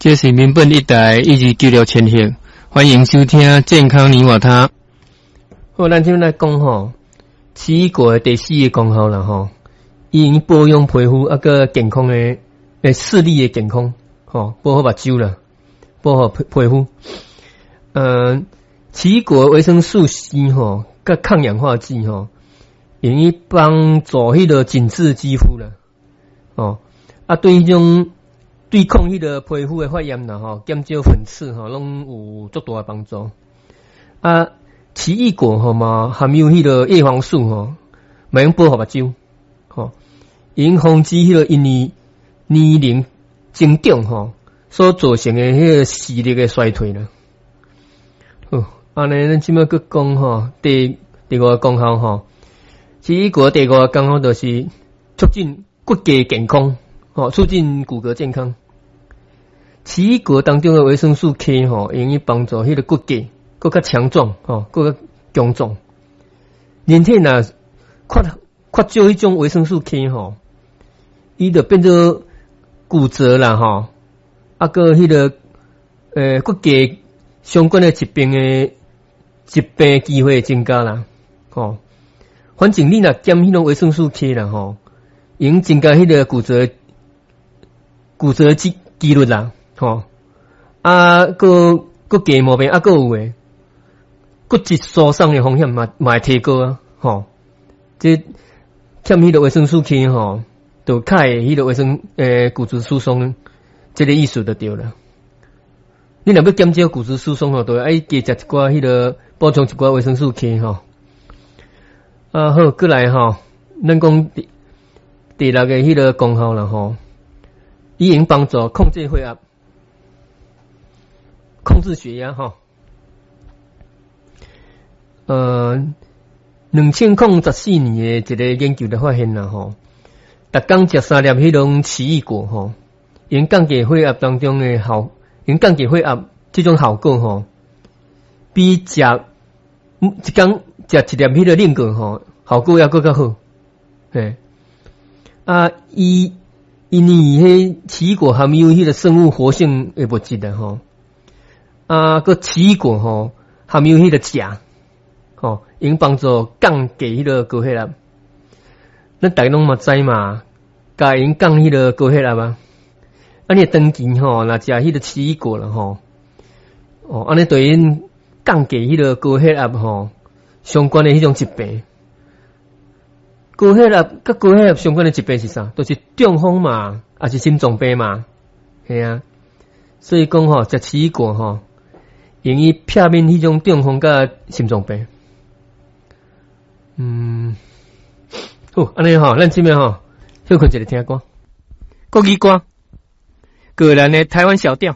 這是民本一台129.6千赫，歡迎收聽健康你我他。好，咱這來講吼，奇異果的第四个功效啦吼，伊用保養皮膚啊閣健康的視力的健康，吼，保護目睭啦，保護皮膚。奇異果維生素 C 吼，佮抗氧化劑吼，用於幫助彼个緊緻肌膚啦，哦，啊對彼種對抗彼个皮膚的發炎啦吼，減少粉刺吼，攏有足大的幫助。啊，奇異果吼嘛含有彼个葉黃素吼，嘛用保護目睭，吼，用防止彼个因為年齡增長吼所造成的彼个視力的衰退啦。好，按呢，咱這擺閣講吼，第五个功效吼，奇異果第五个功效就是促進骨骼健康，吼，促進骨骼健康。奇異果當中的維生素 K 吼，用於幫助彼个骨骼閣較強壯，吼，閣較強壯。人體若缺少彼種維生素 K 吼，伊就變做骨折啦，吼，啊，閣彼个骨骼相關的疾病機會增加啦，吼。反正你若減彼種維生素 K 啦，吼，會增加彼个骨折機率啦，吼。啊，閣骨骼毛病啊，閣有的骨質疏鬆的風險嘛會提高啊，吼。這欠彼个維生素 K 吼，就較會彼個維生骨質疏鬆，這个意思就對啦。你若欲減少骨質疏鬆吼，就愛加食一寡彼个補充一寡維生素 K 吼。啊好，閣來吼，咱講第六个彼个功效啦吼，伊用幫助控制血壓，控制血壓吼。2014年的一个研究就發現啦吼，逐工食三粒彼種奇異果吼，用降低血壓當中的效，用降低血壓這種效果吼，比食一工食一粒彼个靈果吼，效果猶閣較好。嘿，啊，伊因為彼奇異果含有彼个生物活性的物質啦吼，啊，閣奇異果吼含有彼个鉀，吼，用幫助降低彼个高血壓。咱逐家攏嘛知嘛，鉀會用降彼个高血壓啊。啊，你長期吼，若食彼个奇異果啦吼，哦，按呢對用降低彼个高血壓吼相關的彼種疾病。高血壓佮高血壓相關的疾病是啥？就是中風嘛，抑是心臟病嘛，嘿啊。所以講吼，食奇異果吼，用於避免彼種中風佮心臟病。好，按呢吼，咱這擺吼，歇睏一下聽歌，國語歌，個人的台灣小調。